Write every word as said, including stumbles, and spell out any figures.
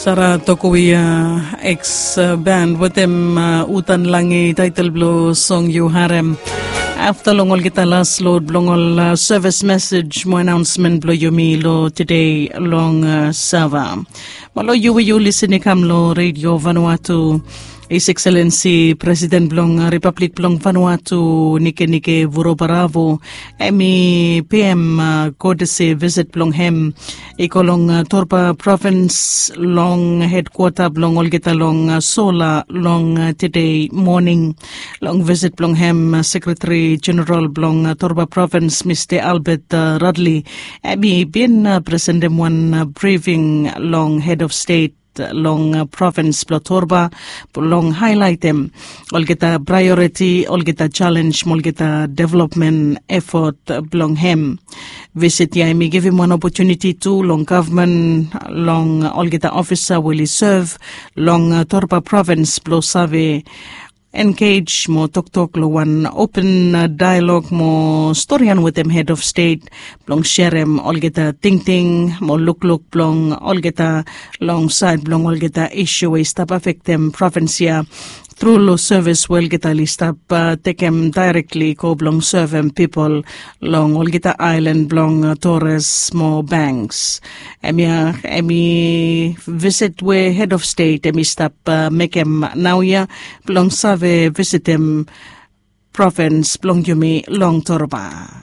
Sara tokowi, ex band wetem utan langi, taitel blong song yu harem. Afta long olgeta las lod blong ol sevis mesej mo anaonsmen blong yumi long tede long sava. Malo yu we yu lisin i kam long redio Vanuatu. His Excellency President blong Republik blong Vanuatu, Nikenike Vurobaravu, em i pm kodesi visit blong hem i go long Torba Provins long hedkwata blong olgeta long sola long tede moning. Long visit blong hem, Sekretari Jeneral blong Torba Provins, Mista Albert Radley, em i bin presentem wan brifing long hed of stet long provins blong Torba, blong haelaitem olgeta praeoriti, olgeta selens mo olgeta developmen efot blong hem. Visit ya em i givim wan opotuniti tu long gavman, long olgeta ofisa we oli sev long Torba provins blong save engej mo toktok long wan open daelog mo storian wetem hed of stet blong serem olgeta tingting mo lukluk blong olgeta long saed blong olgeta isu we i stap afektem provins ya tru long sevis we olgeta oli stap tekem daerekli go blong sevem pipol long olgeta aelan blong Tores mo Banks. Em ya em i visit we hed of stet em i stap mekem naoia blong save visitem provins blong yumi long Torba.